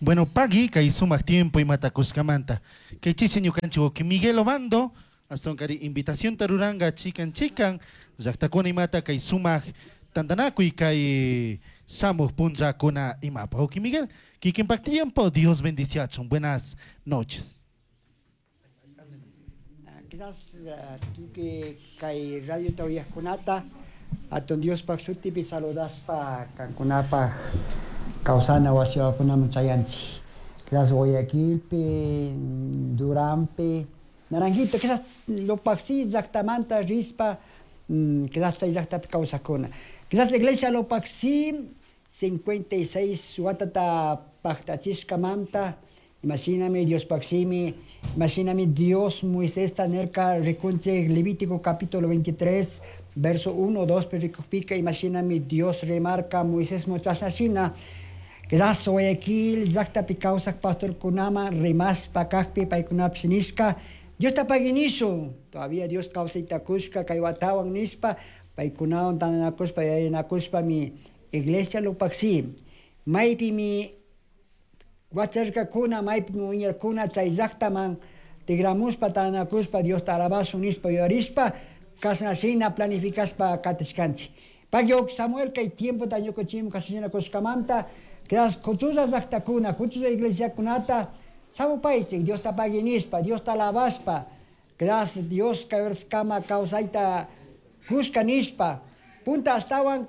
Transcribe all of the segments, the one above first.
Bueno, pagui kay sumak tiempo imata kushkamanta. Kay chishi ñukanchik wawki Miguel Obando, ashtawankari invitacionta ruranga chikan chikan llaktakuna imata kay sumak tantanakuy kay shamuj punllakuna imapa. Wawki Miguel, kikinpak tiempo, Dios bendiciachun. Buenas noches. Quizás tukuy kay radiota uyajkunata hatun Diospaj shutipi saludaspa kankunapaj kawsana wasiwakunaman chayanchik. Quizás Guayaquilpi, Duranpi, Naranjito, quizás Lupaxi llaktamanta rispa, quizás chay llaktapi kawsakuna. Quizás la iglesia Lupaxi 56 watata paktachishkamanta, imashinami Diospaj shimi, imashinami Dios Moisesta nirka rikunchik Levítico capítulo 23, verso 1, 2 pi rikukpika, imashinami Dios rimarka Moisés chashnashina, quizás Guayaquil llaktapi kawsak pastorkunaman rimashpa kakpi paykunapish nishka, Diosta pagui nishun, todavía Dios kawsayta kushka kay watawan nishpa, paykunawan tantanakushpa yuyarinakushpami iglesia Lupaxi, maypimi wacharkakuna, maypimi wiñarkuna chay llaktaman tigramushpa tantanakushpa Diosta alabashun nishpa yuyarishpa, kashnashina planificashpa katishkanchik. Pagui Samuel kay tiempota ñukanchikmi kashnashina kushkamanta, quizás kuchulla llaktakuna, kuchulla iglesiakunata samupaychik Diosta pagui nishpa, Diosta alabashpa, quizás Dios kay kama kawsayta kushka nishpa, punta ashtawan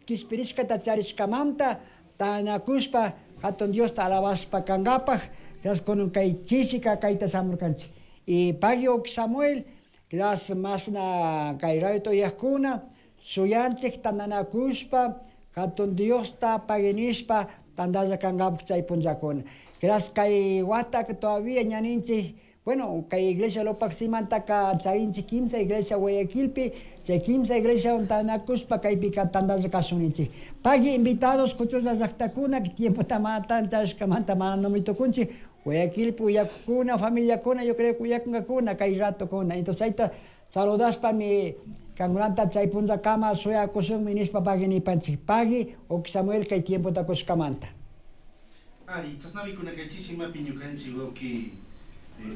kishpirishkata charishkamanta tantanakushpa hatun Diosta alabashpa kankapaj, quizás kunan kay chishika kayta shamurkanchik. Y pagui Samuel, quizás mashna kay radiota uyajkuna, shuyanchik tantanakushpa hatun Diosta pagui nishpa tantalla kankapaj chay punllakuna. Quizás kay wata todavía ñaninchik, bueno, kay iglesia Lupaximantaka charinchik kimsa iglesia Guayaquilpi, chay kimsa iglesia tantanakushpa kaypika tantalla kashunninchik. Pagui invitados kuchulla llaktakuna, tiempota mana charishkamanta mana numi tukunchik, Guayaquilpi uyakukuna, familiakuna, yo creo que uyakunkakuna kay ratokuna. Entonces chayta saludashpami kankunata chay punllakama shuyakushunmi nishpa pagui nipanchik. Pagui Samuel kay tiempota kushkamanta. Ari, chashnami kuna kay chishimapi ñukanchik wawki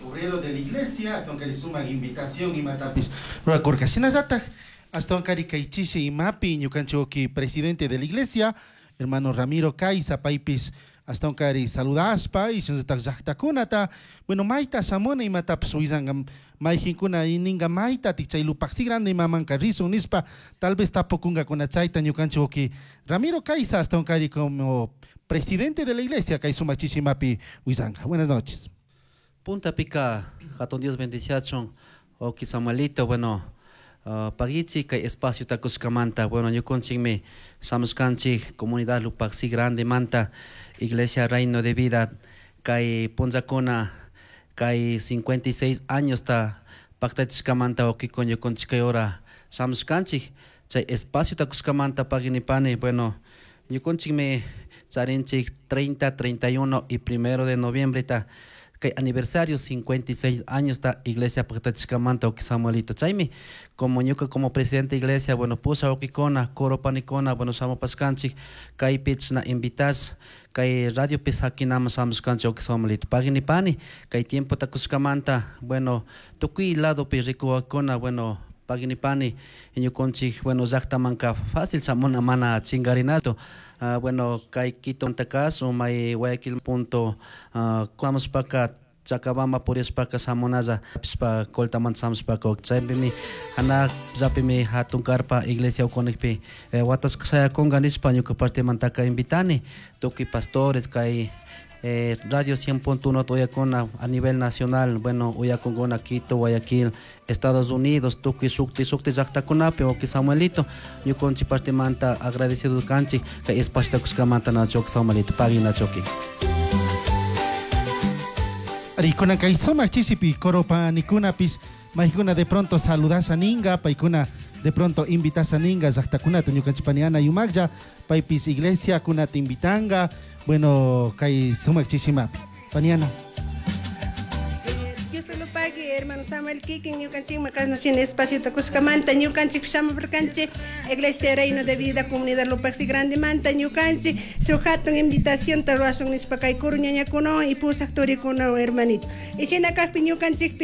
obrero de la iglesia, ashtawankari sumak invitación imatapish rurakurka. Shinallatak ashtawankari kay chishi imapi ñukanchik wawki presidente de la iglesia, hermano Ramiro Caiza, paypish ashtawankari saludashpa y shinallatak llaktakunata, bueno, mayta shamuna imatapish willanka, mayjinkuna ninka maytatik chay Lupaxi grande imamanka rishun nishpa, tal vez tapukunkakuna chayta ñukanchik wawki Ramiro Caiza ashtawankari como presidente de la iglesia kay sumak chishimapi willanka. Buenas noches. Punta pica, hatun Dios bendiciachun, wawki Samuelito, bueno, paguichi kay espacio takushkamanta, bueno, ñukunchikmi shamushkanchik comunidad Lupaxi grande manta, Iglesia Reino de Vida, kay punllakuna, kay 56 años ta paktachishkamanta wawkikuna ñukunchik kay hora shamushkanchik, chay espacio takushkamanta paguinipani, bueno, ñukunchikmi charinchik 30, 31 y 1 de noviembre ta kay aniversario 56 años ta iglesia paktachishkamanta wawki Samuelito. Chaymi como ñuka como presidente de iglesia, bueno, pusha wawkikuna, coro panikuna, bueno, shamupashkanchik, kaypi chashna invitash, kay radio pi sakinaman shamushkanchik wawki Samuelito. Paguinipani, kay tiempo takushkamanta, bueno, tukuy ladopi rikuwakuna, bueno, paguinipani, ñukunchik, bueno, llaktamanka fácil shamuna mana chingarinato. Bueno, kay Quito caso, may Guayaquil punto, kamushpaka, Chacabamba purishpaka shamunalla, pishpa Coltamanta shamushpaka, chaypimi, hanaq llapimi hatun carpa iglesia ukunikpi, watashka shayakunka nishpa ñuka partemantaka invitani, tukuy pastores kay Radio 100.1 uyakuna a nivel nacional, bueno, uyakunkuna Quito, Guayaquil, Estados Unidos, tukuy shukti, shukti llaktakunapi, wawki Samuelito, ñukanchik partemanta agradecido kanchik, kay espacio takushkamanta nachoki Samuelito, pagui nachoki. Ari, kay sumak chishipi coro panikunapis, maykuna de pronto saludasha ninga, paykuna de pronto invitasha ninga llaktakunata ñukanchik paniana yumaklla, paypis iglesia kunata invitanga, bueno, kay sumak chishimapi. Paniana. Yo solo pagui Hermano Samuel kikin ñukanchikman kashna espaciota kushkamanta ñukanchik shamurkanchik Iglesia Reino de Vida Comunidad Lupaxi Grandemanta ñukanchik shuk hatun invitación rurashun nishpa kay kuru ñañakunawan y pusaq turikunawan, hermanito. Y shina kakpi ñukanchikpi.